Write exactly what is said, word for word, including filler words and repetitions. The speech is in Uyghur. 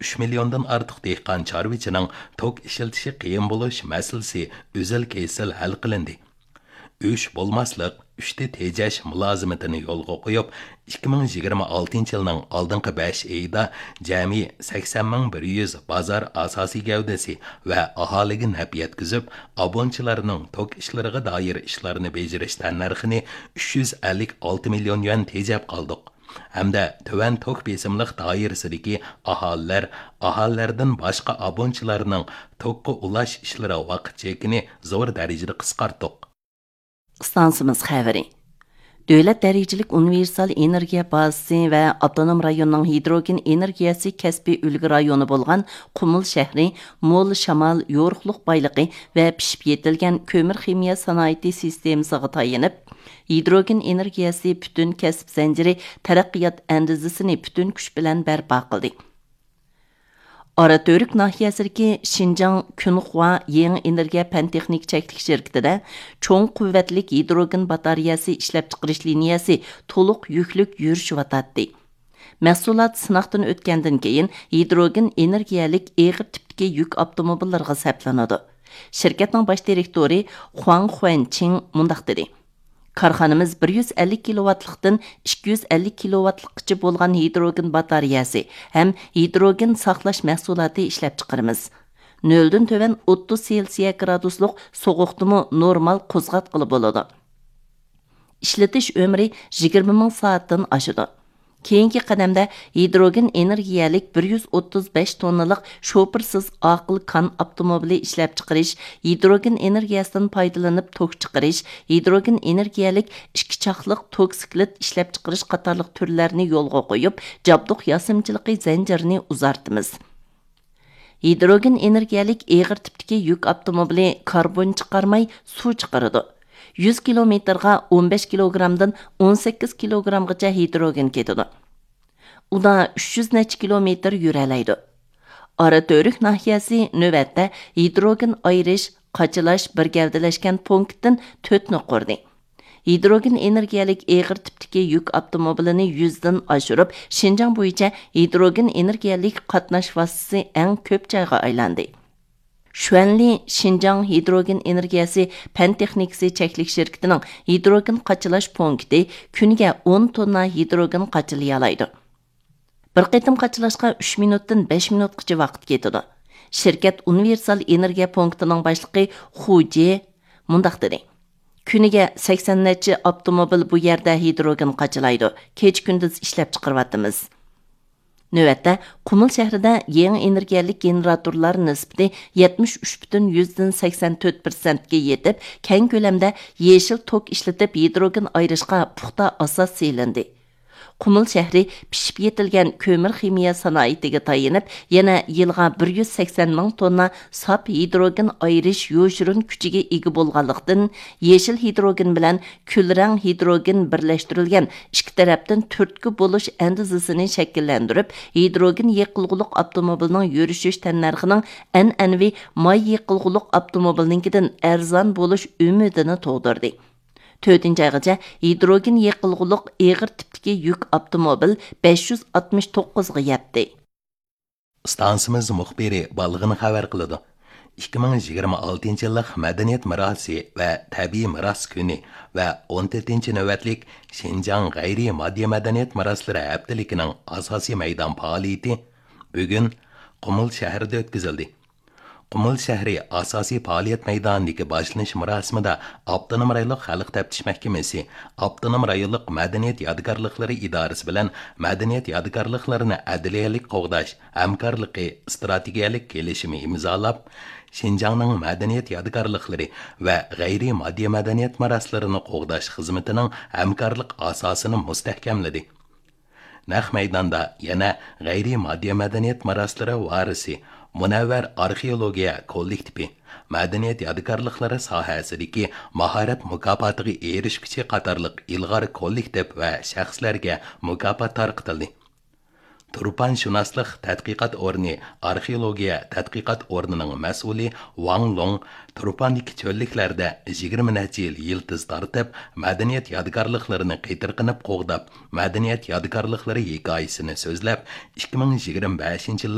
ئۈچ مىليوندىن ئارتۇق دېھقان چارۋىچىنىڭ توك ئىشلىتىشى قىيىن بولۇش مەسىلىسى ئۈزۈل-كېسىل ھەل قىلىندى. ئۈچ بولماسلىق، ئۈچتە تېجەش مۇلازىمىتىنى يولغا قويۇپ، ئىككى مىڭ يىگىرمە ئالتىنچى يىلنىڭ ئالدىنقى بەش ئېيىدا جەمئىي سەكسەن مىڭ بىر يۈز بازار ئاساسىي گەۋدىسى ۋە ئاھالىگە نەپ يەتكۈزۈپ، ئابۇنىچىلارنىڭ توك ئىشلىرىغا دائىر ئىشلارنى بېجىرىش تەننەرخىنى ئۈچ يۈز ئەللىك ئالتە مىليون يۈەن تېجەپ قالدۇق. ھەمدە تۆۋەن توك بېسىملىق دائىرىسىدىكى ئاھالىلەر، ئاھالىلەردىن باشقا ئابۇنىچىلارنىڭ توكقا ئۇلاش ئىشلىرى ۋاقىت چېكىنى زور دەرىجىدە قىسقارتتۇق. ئىستانسىمىز خەۋىرى. دۆلەت دەرىجىلىك ئۇنىۋېرسال ئېنېرگىيە بازىسى ۋە ئاپتونوم رايوننىڭ ھىدروگېن ئېنېرگىيەسى كەسپىي ئۈلگە رايونى بولغان قۇمۇل شەھىرى مول شامال، يورۇقلۇق بايلىقى ۋە پىشىپ يېتىلگەن كۆمۈر خىمىيە سانائىتى سىستېمىسىغا تايىنىپ، ھىدروگېن ئېنېرگىيەسى پۈتۈن كەسىپ زەنجىرى تەرەققىيات ئەندىزىسىنى پۈتۈن كۈچ بىلەن بەرپا قىلدى. ئاراتۈرك ناھىيەسىدىكى شىنجاڭ كۈنخۇا يېڭى ئېنېرگىيە پەن تېخنىكا چەكلىك شىركىتىدە چوڭ قۇۋۋەتلىك ھىدروگېن باتارېيەسى ئىشلەپچىقىرىش لىنىيەسى تولۇق يۈكلۈك يۈرۈشۈۋاتاتتى. مەھسۇلات سىناقتىن ئۆتكەندىن كېيىن، ھىدروگېن ئېنېرگىيەلىك ئېغىر تىپتىكى يۈك ئاپتوموبىللىرىغا سەپلىنىدۇ. شىركەتنىڭ باش دىرېكتورى خۇاڭ خۇەنچىڭ مۇنداق دېدى: كارخانىمىز بىر يۈز ئەللىك كىلوۋاتلىقتىن ئىككى يۈز ئەللىك كىلوۋاتلىققىچە بولغان ھىدروگېن باتارېيەسى ھەم ھىدروگېن ساقلاش مەھسۇلاتى ئىشلەپچىقىرىمىز. نۆلدىن تۆۋەن ئوتتۇز سېلسىيە گرادۇسلۇق سوغۇقتىمۇ نورمال قوزغاتقىلى بولىدۇ. ئىشلىتىش ئۆمرى يىگىرمە مىڭ سائەتتىن ئاشىدۇ. كېيىنكى قەدەمدە ھىدروگېن ئېنېرگىيەلىك بىر يۈز ئوتتۇز بەش توننىلىق شوپۇرسىز ئاقىل كان ئاپتوموبىلى ئىشلەپچىقىرىش، ھىدروگېن ئېنېرگىيەسىدىن پايدىلىنىپ توك چىقىرىش، ھىدروگېن ئېنېرگىيەلىك ئىككى چاقلىق توكسىكلىت ئىشلەپچىقىرىش قاتارلىق تۈرلەرنى يولغا قويۇپ، جابدۇق ياسىمىچىلىقى زەنجىرىنى ئۇزارتىمىز. ھىدروگېن ئېنېرگىيەلىك ئېغىر تىپتىكى يۈك ئاپتوموبىلى كاربون چىقارماي، سۇ چىقىرىدۇ. يۈز كىلومېتىرغا ئون بەش كىلوگرامدىن ئون سەككىز كىلوگرامغىچە ھىدروگېن كېتىدۇ. ئۇدا ئۈچ يۈز نەچچە كىلومېتىر يۈرەلەيدۇ. ئاراتۈرك ناھىيەسى نۆۋەتتە ھىدروگېن ئايرىش، قاچىلاش بىر گەۋدىلەشكەن پونكىتتىن تۆتنى قۇردى. ھىدروگېن ئېنېرگىيەلىك ئېغىر تىپتىكى يۈك ئاپتوموبىلىنى يۈزدىن ئاشۇرۇپ، شىنجاڭ بويىچە ھىدروگېن ئېنېرگىيەلىك قاتناش ۋاسىتىسى ئەڭ كۆپ جايغا ئايلاندى. شۈەنلى شىنجاڭ ھىدروگېن ئېنېرگىيەسى پەن تېخنىكىسى چەكلىك شىركىتىنىڭ ھىدروگېن قاچىلاش پونكىتى كۈنىگە ئون توننا ھىدروگېن قاچىلىيالايدۇ. بىر قېتىم قاچىلاشقا ئۈچ مىنۇتتىن بەش مىنۇتقىچە ۋاقىت كېتىدۇ. شىركەت ئۇنىۋېرسال ئېنېرگىيە پونكىتىنىڭ باشلىقى خۇ جې مۇنداق دېدى: كۈنىگە سەكسەن نەچچە ئاپتوموبىل بۇ يەردە ھىدروگېن قاچىلايدۇ. كېچە-كۈندۈز ئىشلەپچىقىرىۋاتىمىز. نۆۋەتتە، قۇمۇل شەھىرىدە يېڭى ئېنېرگىيەلىك گېنېراتورلار نىسبىتى يەتمىش ئۈچ پۈتۈن يۈزدىن سەكسەن تۆت پىرسەنتكە يېتىپ، كەڭ كۆلەمدە يېشىل توك ئىشلىتىپ، ھىدروگېن ئايرىشقا پۇختا ئاساس سېلىندى. قۇمۇل شەھىرى پىشىپ يېتىلگەن كۆمۈر خىمىيە سانائىتىگە تايىنىپ، يەنە يىلغا بىر يۈز سەكسەن مىڭ توننا ساپ ھىدروگېن ئايرىش يوشۇرۇن كۈچىگە ئىگە بولغانلىقتىن، يېشىل ھىدروگېن بىلەن كۈلرەڭ ھىدروگېن بىرلەشتۈرۈلگەن ئىككى تەرەپتىن تۈرتكە بولۇش ئەندىزىسىنى شەكىللەندۈرۈپ، ھىدروگېن يېقىلغۇلۇق ئاپتوموبىلنىڭ يۈرۈشۈش تەننەرخىنىڭ ئەنئەنىۋى ماي يېقىلغۇلۇق ئاپتوموبىلنىڭكىدىن ئەرزان بولۇش ئۈمىدىنى تۇغدۇردى. تۆتىنچى ئايغىچە ھىدروگېن يېقىلغۇلۇق ئېغىر تىپتىكى يۈك ئاپتوموبىل بەش يۈز ئاتمىش توققۇزغا يەتتى. ئىستانسىمىز مۇخبىرى بالغىن خەۋەر قىلىدۇ. ئىككى مىڭ يىگىرمە ئالتىنچى يىللىق مەدەنىيەت مىراسى ۋە تەبىئىي مىراس كۈنى ۋە ئون تۆتىنچى نۆۋەتلىك شىنجاڭ غەيرىي ماددىي مەدەنىيەت مىراسلىرى ھەپتىلىكىنىڭ ئاساسىي مەيدان پائالىيىتى بۈگۈن قۇمۇل شەھىرىدە ئۆتكۈزۈلدى. قۇمۇل شەھىرى ئاساسىي پائالىيەت مەيدانىدىكى باشلىنىش مۇراسىمىدا ئاپتونوم رايونلۇق خەلق تەپتىش مەھكىمىسى، ئاپتونوم رايونلۇق مەدەنىيەت يادىكارلىقلىرى ئىدارىسى بىلەن مەدەنىيەت يادىكارلىقلىرىنى ئەدلىيەلىك قوغداش ھەمكارلىقى ئىستراتېگىيەلىك كېلىشىمى ئىمزالاپ، شىنجاڭنىڭ مەدەنىيەت يادىكارلىقلىرى ۋە غەيرىي ماددىي مەدەنىيەت مىراسلىرىنى قوغداش خىزمىتىنىڭ ھەمكارلىق ئاساسىنى مۇستەھكەملىدى. نەق مەيداندا يەنە غەيرىي ماددىي مەدەنىيەت مىراسلىرى ۋارىسى، مۇنەۋۋەر ئارخېئولوگىيە كوللېكتىپى، مەدەنىيەت يادىكارلىقلىرى ساھەسىدىكى ماھارەت مۇكاپاتىغا ئېرىشكۈچى قاتارلىق ئىلغار كوللېكتىپ ۋە شەخسلەرگە مۇكاپات تارقىتىلدى. تۇرپانشۇناسلىق تەتقىقات ئورنى ئارخېئولوگىيە تەتقىقات ئورنىنىڭ مەسئۇلى ۋاڭ لوڭ تۇرپاندىكى چۆللۈكلەردە يىگىرمە نەچچە يىل يىلتىز تارتىپ، مەدەنىيەت يادىكارلىقلىرىنى قېتىرقىنىپ قوغداپ، مەدەنىيەت يادىكارلىقلىرى ھېكايىسىنى سۆزلەپ، ئىككى مىڭ يىگىرمە بەشىنچى يىللىق